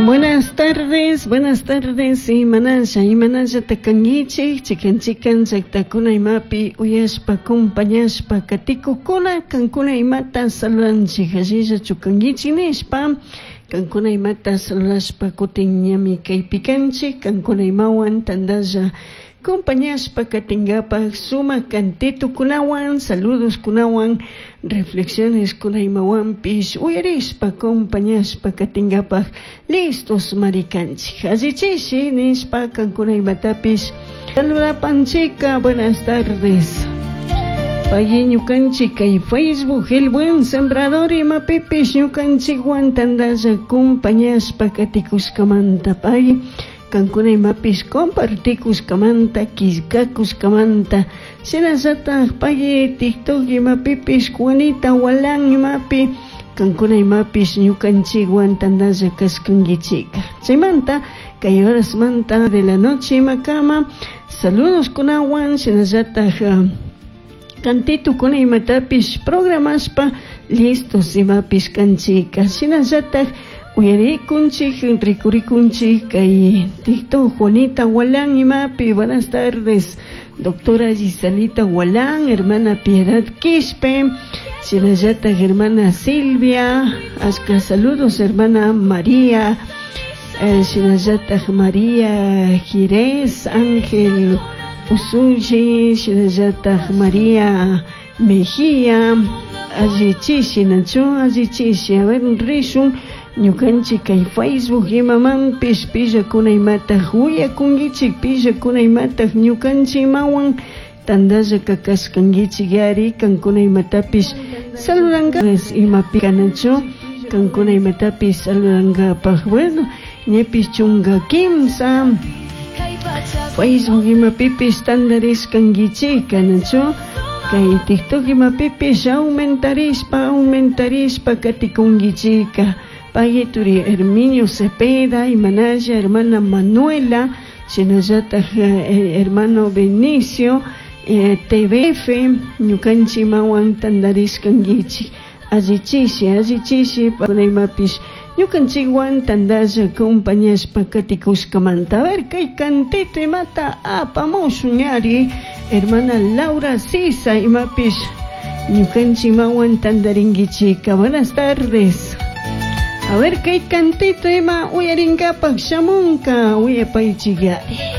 Buenas tardes, buenas tardes, imanalla, imanallata kankichik, chikan chikan llaktakuna imapi uyashpa, acompañashpa katikukuna, kankuna imata saludanchik, allillachu kankichik nishpa, kankuna imata saludashpa kutin ñami kaypi kanchik, kankuna imawan tandalla acompañashpa katinkapak sumak cantitukunawan, saludoskunawan, reflexiones imawanpish uyarishpa acompañashpa katinkapak listos marikanchik. Allichishi nishpa kankuna imatapish saludapanchika. Buenas tardes. Pagui ñukanchik kay Facebook El Buen Sembrador imapipish ñukanchikwan tandalla acompañashpa katikushkamanta pagui kankuna imapish compartikushkamanta killkakushkamanta shinallatak pagui TikTok imapipish Juanita Walán imapi kankuna imapish ñukanchikwan tandalla kashkankichika. Chaymanta kay horasmanta de la noche imakama saludos kunawan shinallatak cantitukuna imatapish programashpa listos imapish kanchika. Shinallatak uyarikunchik rikurikunchik kay TikTok Juanita Walán imapi. Buenas tardes, doctora Giselita Walán, hermana Piedad Quispe, shinallatak hermana Silvia, ashka saludos hermana María, shinallatak María Girés, Ángel Usuyi, shinallatak María Mejía, allichishi nachu, allichishi, a ver rishun ñukanchik kay Facebook imamanpish pillakuna imataq uyakunkichik, pillakuna imataq ñukanchik imawan tandalla kakashkankichik yari, kankuna imatapish saludanka imapi kanachu, kankuna imatapish saludankapaj. Bueno, ñapish chunka kimsa Facebook imapipish tandarishkankichik kanachu, kay TikTok imapipish aumentarishpa, aumentarishpa katikunkichika. Pagui turi Herminio Cepeda, imanalla hermana Manuela, shinallatak hermano Benicio, TVF, ñukanchik imawan tandarishkankichik. Allichishi, allichishi, imapish ñukanchikwan tandalla acompañashpa katikushkamanta. A ver, kay cantito imata apamushun yari, hermana Laura Sisa, imapish ñukanchik imawan tandarinkichika. Buenas tardes. A ver, kay cantito ima uyarinkapak shamunka, uyapaychik yari.